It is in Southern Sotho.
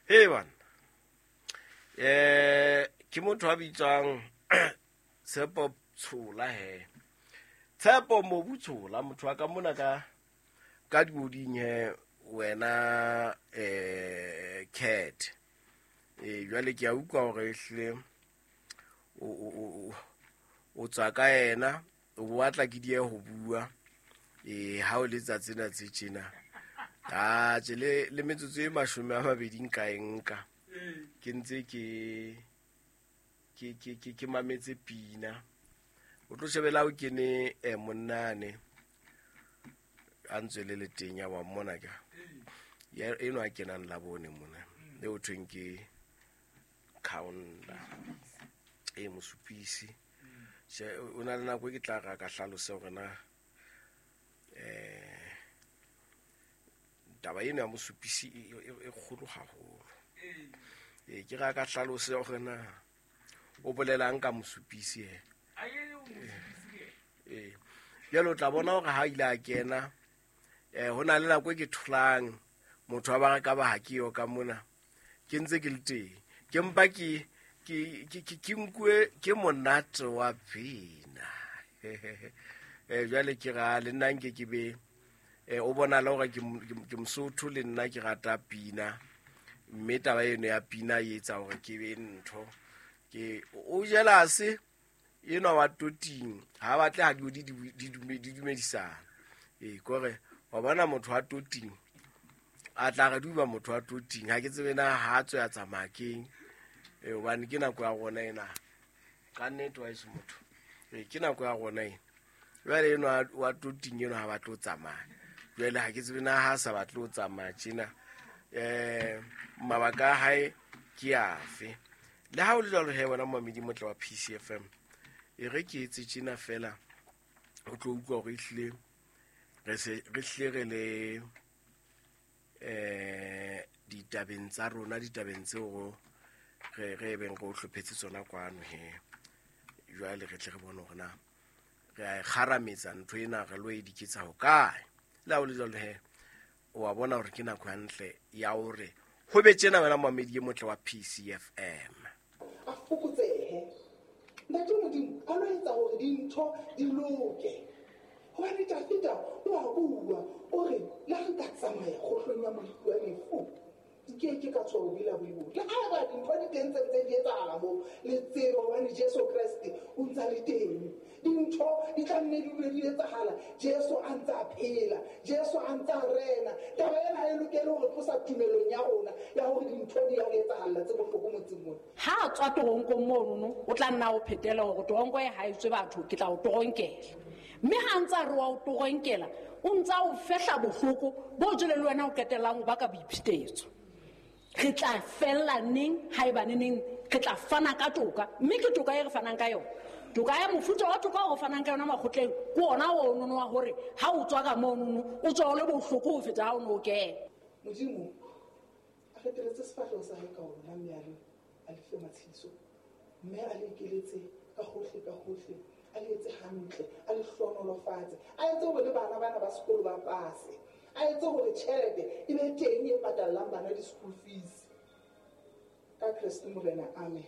He bana, ke motho a bitswang Tshepo Tshola he. Tshepo Mobu Tshola, motho wa ka mona ka dioding he wena cat. Jwale ke a utlwa hore ehlile o tswa ka yena, o bo batla ke die ho bua. Ha o letsa tsena tse tjena. Atjhe, le metsotso e 20 nka e nka. Ke ntse ke mametse pina. O tlo shebela o kene monnane a ntswele le teng ya wa mmona ka. Ya eno a kenang la bone mona. Le o thweng ke Kaunda. Mosupisi. Tjhe, o na le nako e ke tla ra ka hlalose hore na taba eno ya mosupisi e kgolo haholo. Ke ra ka hlalose hore na o bolelang ka mosupisi he. Jwale o tla bona hore ha ile a kena, ho na le nako e ke tholang motho wa ba re ka ba ha ke yo ka mona, ke ntse ke le teng. Ke mpa ke nkuwe ke monate wa pina. Jwale ke ra le nna nke ke be, o bona le hore ke Mosotho le nna ke rata pina. Mme taba eno ya pina e etsa hore ke be ntho. Ke o jelase enwa wa toting, ha batle ha di dumedisana. Kore wa bona motho wa toting a tla re duba motho wa toting, ha ke tsebe na ha tswe a tsamaya keng. Hobane ke nako ya rona ena. Ka nnete wa eso motho. Ke nako ya rona ena. Jwale enwa wa toting enwa ha batle ho tsamaya. Jwale ha ke tsebe na ha sa batle ho tsamaya tjena. Mabaka a hae ke afe. Le ha o le jwalo he wena momamedi motle wa PCFM, e re ke etse tjena fela o tlo utlwa hore ehlile re se re hlile re le ditabeng tsa rona, ditabeng tseo re beng re o hlophetse tsona kwano he. Jwale re tle re bone hore na re a e kgarametsa ntho ena, re lo e diketsa ho kae. Le ha o le jwalo he, o wa bona hore ke nako hantle ya hore ho be tjena wena momamedi e motle wa PCFM. A fokotsehe. Ntate Modimo a lo etsa hore dintho di loke. Hobane Dafida o a bua, o re, le ha nka tsamaya kgohlong ya moriti wa lefu, nke ke ka tshoha bobe la boibo. Le haeba dintho di teng tse ntse di etsahala moo, le tsebe hobane Jesu Kreste o ntsa le teng. Dintho di tla nne di dule di etsahala, Jesu a ntsa a phela, Jesu a ntsa a rena. Taba ena ha e lokele hore tlosa tumelong ya rona ya hore dintho di ya re etsahalla tse bohloko motseng mona. Ha a tswa toronkong monono, o tla nna o phetela hore toronko e ha e tswe batho, ke tla o toronkela. Mme ha ntsa re wa o toronkela, o ntsa o fehla bohloko bo jwale le wena o qetellang o baka boiphetetso. Re tla fella neng haeba neneng re tla fana ka toka, mme ke toka e re fanang ka yona. Toka ya mofuta wa toka o re fanang ka yona makgotleng ke ona o nono wa hore ha o tswa ka monono o tswa o le bohloko ho feta ha o no kena. Modimo a feteletse sefahleho sa hae ka ona, mme a le fe matshediso, mme a le ekeletse ka hohle ka hohle, a le etse hantle, a le hlohonolofatse, a etse hore le bana bana ba sekolo ba pase, a etse hore tjhelete e be teng e patallang bana di-school fees. Ka Kreste Morena, amen.